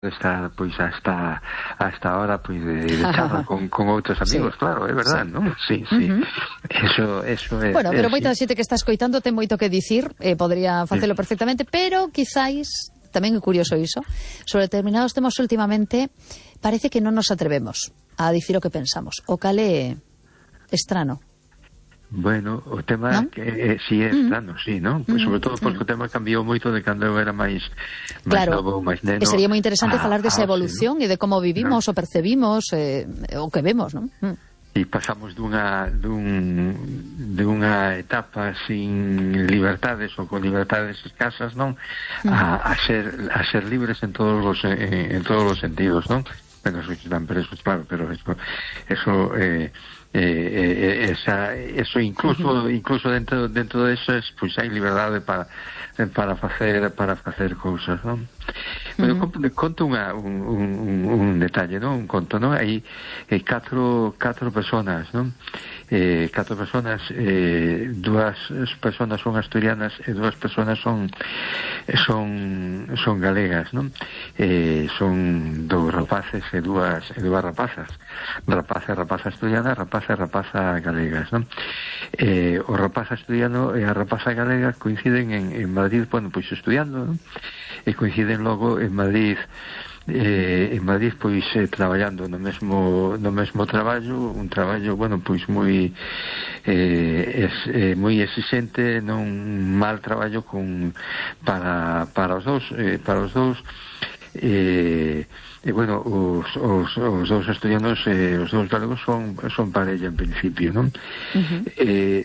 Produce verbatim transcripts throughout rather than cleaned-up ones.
Está, pois, hasta hasta ahora, pois, de, de charla con, con outros amigos, sí. Claro, é verdade, sí. Non? Sí, sí. Uh-huh. Eso, eso é... Bueno, pero é, moita sí. xente que está escoitando ten moito que dicir, eh, podría facelo sí. perfectamente, pero quizáis, tamén é curioso iso, sobre determinados temas últimamente, parece que non nos atrevemos a dicir o que pensamos. O cal é estrano. Bueno, o tema ¿no? que eh, si é estrano, mm. sí, non? Pues sobre todo porque mm. o tema cambiou moito de cando eu era máis máis claro. novo, máis neno. E sería moi interesante a, falar desa evolución ¿no? e de como vivimos ¿no? o percebimos eh, o que vemos, non? Mm. E pasamos dunha dun, dunha etapa sin libertades ou con libertades escasas, non? Mm. A, a ser a ser libres en todos os en, en todos os sentidos, non? Bueno, eso están presos, claro, pero eso eso eh Eh, eh, esa, eso incluso uh-huh. incluso dentro dentro de eso es, pues hai liberdade para para facer para facer cousas, non? Pero uh-huh. conto unha, un, un, un detalle, non? Un conto, non? Hai eh, catro catro personas, non? Eh, catro personas, eh, dúas personas son asturianas e dúas personas son son son galegas, non? Eh, son dous rapaces e dúas e dúas rapazas, rapaza e rapaza asturiana, rapaza e rapaza galegas, non? Eh, o rapaz asturiano e a rapaza galega coinciden en, en Madrid, bueno, pois estudiando, non? E coinciden logo en Madrid eh, en Madrid pois eh, traballando no mesmo no mesmo traballo, un traballo, bueno, pois moi eh, es, eh, moi exigente, non mal traballo con para para os dous, eh, para os dous eh, e bueno, os, os, os dous estudiantes eh, os dous galegos son, son parella en principio, non? Uh-huh. eh,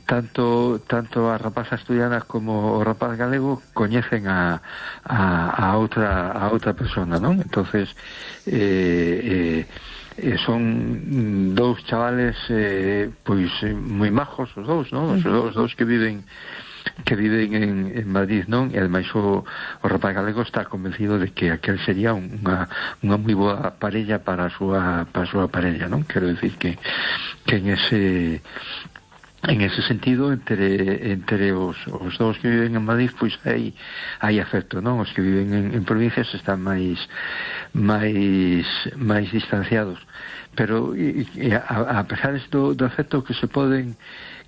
tanto tanto a rapaza asturiana como o rapaz galego coñecen a, a, a outra a outra persona, non? Entonces eh, eh, son dous chavales eh, pois moi majos os dous, non? Os dous, os dous que viven que viven en, en Madrid, non? E ademais o, o rapaz galego está convencido de que aquel sería unha, unha moi boa parella para a súa, para a súa parella, non? Quero dicir que, que en ese en ese sentido entre entre os, os dous que viven en Madrid pois hai, hai afecto, non? Os que viven en, en provincias están máis máis máis distanciados, pero e, e a, a pesar do, do afecto que se poden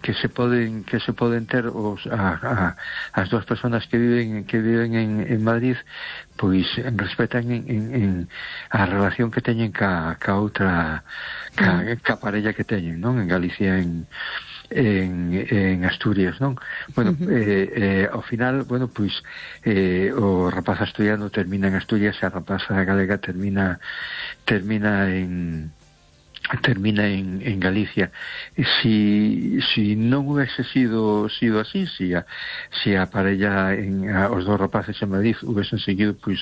que se poden que se poden ter os a, a, as dúas persoas que viven que viven en, en Madrid, pois respetan en, en, en a relación que teñen ca, ca outra ca, ca parella que teñen, non? En Galicia, en en, en Asturias, non? Bueno, uh-huh. eh, eh, ao final, bueno, pois eh, o rapaz asturiano termina en Asturias e a rapaza galega termina termina en termina en, en Galicia. E si, si non hubiese sido sido así, si a, si a parella en, a, os dous rapaces en Madrid hubiesen seguido pois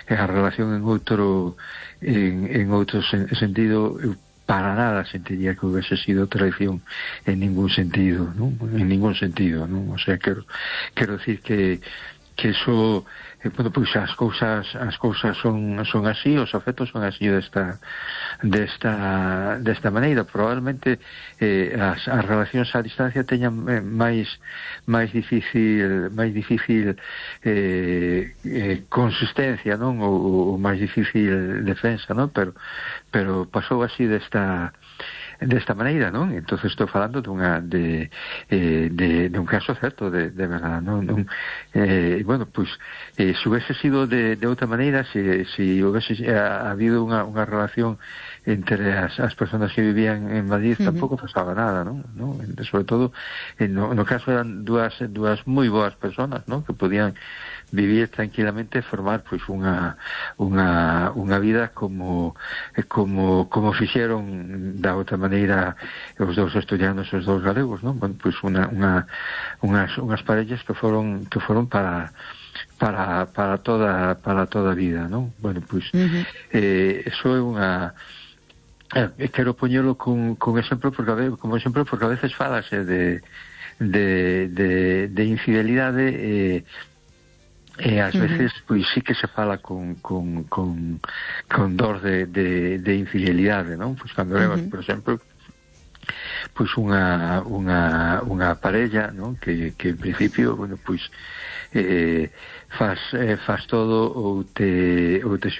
a relación en outro en, en outro sen, sentido, para nada sentiría que hubiese sido traición en ningún sentido, ¿no? En ningún sentido, ¿no? O sea, quero, quero decir que que eso, eh, bueno, pois as cousas as cousas son son así, os afectos son así desta desta desta maneira. Probablemente eh, as, as relacións a distancia teñan eh, máis máis difícil máis difícil eh, eh, consistencia, non? Ou, ou máis difícil defensa, non? Pero pero pasou así desta desta maneira, non? Entonces estou falando dunha de, eh, de, de un caso certo de, de verdad, non? Un, eh, bueno, pois eh, se hubiese sido de, de outra maneira, se, se hubiese eh, habido unha, unha relación entre as, as personas que vivían en Madrid, uh-huh. tampouco pasaba nada, non? ¿No? Sobre todo eh, no, no caso eran dúas dúas moi boas personas, non? Que podían vivir tranquilamente e formar pois unha unha unha vida como como como fixeron da outra maneira os dous asturianos e os dous galegos, non? Bueno, pois unha unha unhas unhas parellas que foron que foron para para para toda para toda a vida, non? Bueno, pois uh-huh. eh eso é unha eh, quero poñelo con con exemplo porque a veces, como exemplo porque a veces falase de de de de infidelidade eh e ás veces uh-huh. pois sí que se fala con con con con dor de de de infidelidade, non? Pois cando levas, uh-huh. por exemplo, pois unha unha unha parella, non? Que que en principio, bueno, pois eh, faz, eh, faz todo ou te, ou te